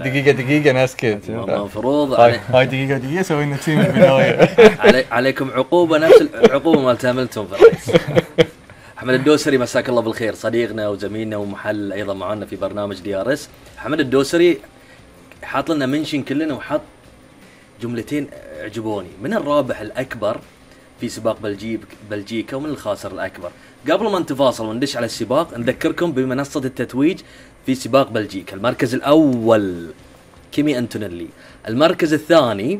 دقيقة ناسكت. المفروض هاي دقيقة سوينا شيء من البداية. عليكم عقوبة نفس العقوبة مال هاملتون في الرئيس. أحمد الدوسري مساك الله بالخير، صديقنا وزميلنا ومحل أيضا معنا في برنامج دي ار اس. أحمد الدوسري حاط لنا منشن كلنا وحط جملتين عجبوني. من الرابح الأكبر في سباق بلجيكا ومن الخاسر الأكبر. قبل ما نتفاصل وندش على السباق نذكركم بمنصة التتويج في سباق بلجيكا. المركز الأول كيمي أنتونيلي، المركز الثاني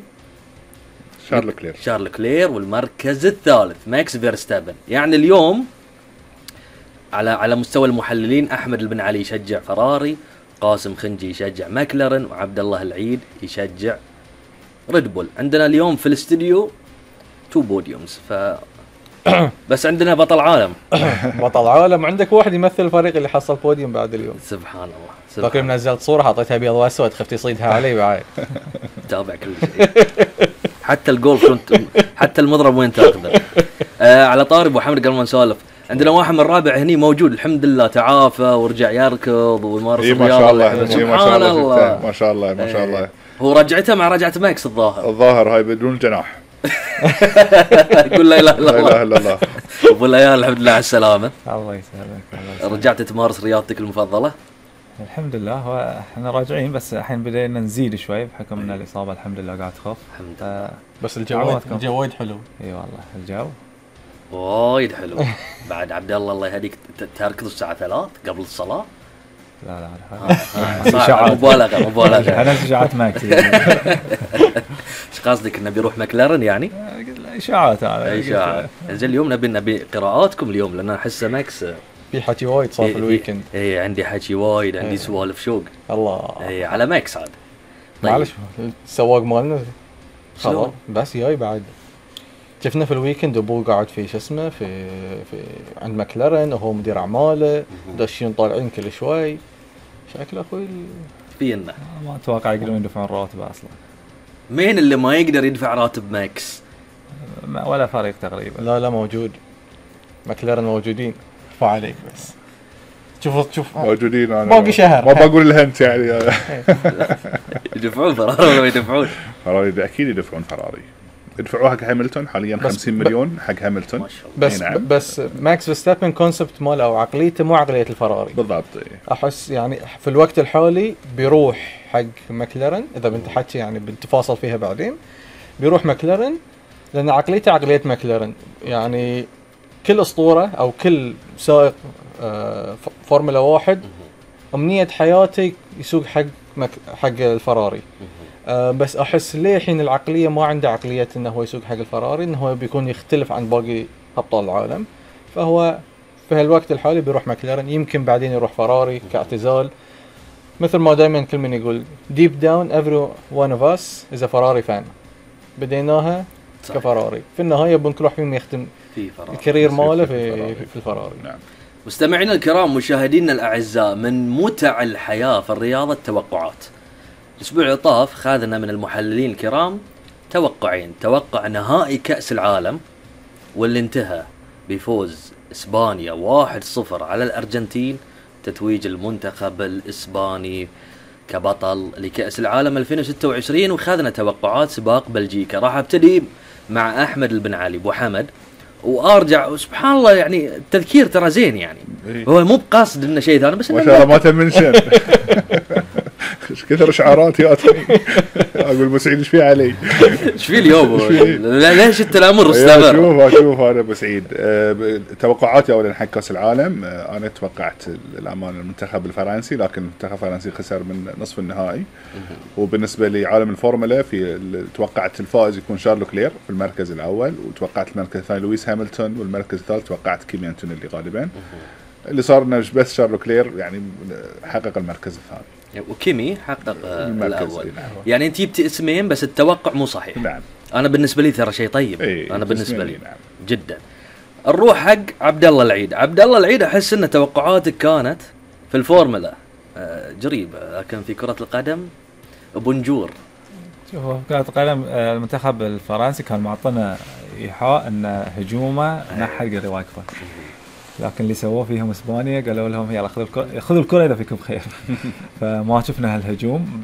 شارل كلير، والمركز الثالث ماكس فيرستابن. يعني اليوم على مستوى المحللين أحمد بن علي يشجع فراري، قاسم خنجي يشجع ماكلارن، وعبد الله العيد يشجع ريد بول. عندنا اليوم في الاستديو 2 بوديومز بس عندنا بطل عالم. بطل عالم، عندك واحد يمثل الفريق اللي حصل بوديوم بعد اليوم. سبحان الله. لكن منزلت صورة حطيتها ابيض واسود، خفت يصيدها علي بعد. تابع كل شيء. حتى الجولف كنت، حتى المضرب وين تاخذه. على طاري ابو حمد قبل ما نسولف، عندنا واحد من الرابع هني موجود الحمد لله، تعافى ورجع يركض ويمارس الرياضة. سبحان الله ما شاء الله ما شاء الله. هو رجعته مع رجعة ماكس الظاهر هاي بدون الجناح. يقول لا اله الا الله. ابو ليال الحمد لله على السلامة. الله يسلمك. رجعت تمارس رياضتك المفضلة؟ الحمد لله. هو احنا راجعين بس الحين بدينا نزيد شوي بحكم ان الاصابة الحمد لله قاعد تخف. بس الجو وايد حلو. اي والله الجو وايد حلو. بعد عبد الله يهديك تركض الساعة 3 قبل الصلاة. لا مبالغة. انا شجاعات ماكس. ايش قصدك انه بيروح ماكلارن يعني؟ اشاعات هذا. اشاعات. زين اليوم نبي قراءاتكم اليوم لان احس ماكس في حكي وايد صار في الويكند. اي عندي حكي وايد، عندي سوالف شوق. الله. اي على ماكس عاد. طيب. معلش السواق مالنا خلاص بس جاي بعد. شفنا في الويكند ابوه قاعد في اسمه في عند ماكلارن وهو مدير اعماله، داشين طالعين كل شوي. شكله اخوي فينا ما اتوقع يقدرون يدفعون راتبه اصلا. مين اللي ما يقدر يدفع راتب ماكس؟ ولا فريق تقريبا. لا موجود، ماكلارن موجودين. ارفع عليك بس. شوف موجودين. انا باقي شهر ما بقول الهنت يعني. يدفعون فراري ولا يدفعون؟ فراري اكيد يدفعون فراري. يدفعوها حق هاملتون حاليا 50 مليون حق هاملتون. بس ماكس فيرستابن كونسبت ماله او عقليته مو عقليه الفراري بالضبط. احس يعني في الوقت الحالي بيروح حق ماكلارن. اذا بنت حكي يعني بنتفاصل فيها بعدين. بيروح ماكلارن لان عقليته عقليه ماكلارن. يعني كل اسطوره او كل سائق فورمولا 1 امنيه حياته يسوق حق الفراري. بس احس ليه الحين العقليه ما عنده عقليه انه هو يسوق حق الفراري، انه هو بيكون يختلف عن باقي ابطال العالم. فهو في هالوقت الحالي بيروح ماكلارن، يمكن بعدين يروح فراري كاعتزال. مثل ما دائما كل من يقول deep down every one of us is a Ferrari fan. بديناها كفراري، في النهايه بنكون راح فيهم يختم في الكارير ماله في الفراري. نعم. مستمعينا الكرام، مشاهدينا الاعزاء، من متع الحياه في الرياضه التوقعات. الأسبوع اللي طاف خذنا من المحللين الكرام توقعين. توقع نهائي كأس العالم واللي انتهى بفوز إسبانيا 1-0 على الأرجنتين، تتويج المنتخب الإسباني كبطل لكأس العالم 2026. وخذنا توقعات سباق بلجيكا. راح ابتدي مع أحمد بن علي أبو حمد وارجع. سبحان الله يعني التذكير ترى زين يعني. هو مو بقصد انه شيء ثاني بس ما شاء الله ما تمنشن. ايش كثر اشعارات ياتني. اقول بسعيد ايش في علي؟ ايش في اليوم؟ ليش التنامر استمر؟ شوف انا بسعيد. توقعاتي اولا حق كاس العالم، انا توقعت الامانه المنتخب الفرنسي، لكن المنتخب الفرنسي خسر من نصف النهائي. وبالنسبه لعالم الفورمولا توقعت الفائز يكون شارل كلير في المركز الاول، وتوقعت المركز الثاني لويس هاملتون، والمركز الثالث توقعت كيمي أنتونيلي غالبا. اللي صار انه بس شارل كلير يعني حقق المركز الثاني وكيمي حقق الاول. يعني انت جبت اسمين بس التوقع مو صحيح. نعم. انا بالنسبه لي ترى شيء طيب. انا بالنسبه لي نعم. جدا. نروح حق عبد الله العيد. عبد الله العيد احس ان توقعاتك كانت في الفورمولا جريبه، لكن في كره القدم بونجور. شوف كرة القدم المنتخب الفرنسي كان معطنا ايحاء ان هجومه نحل قدر واقفه، لكن اللي سووه فيهم اسبانيا قالوا لهم يلا خذوا الكرة اذا فيكم خير. فما شفنا هالهجوم.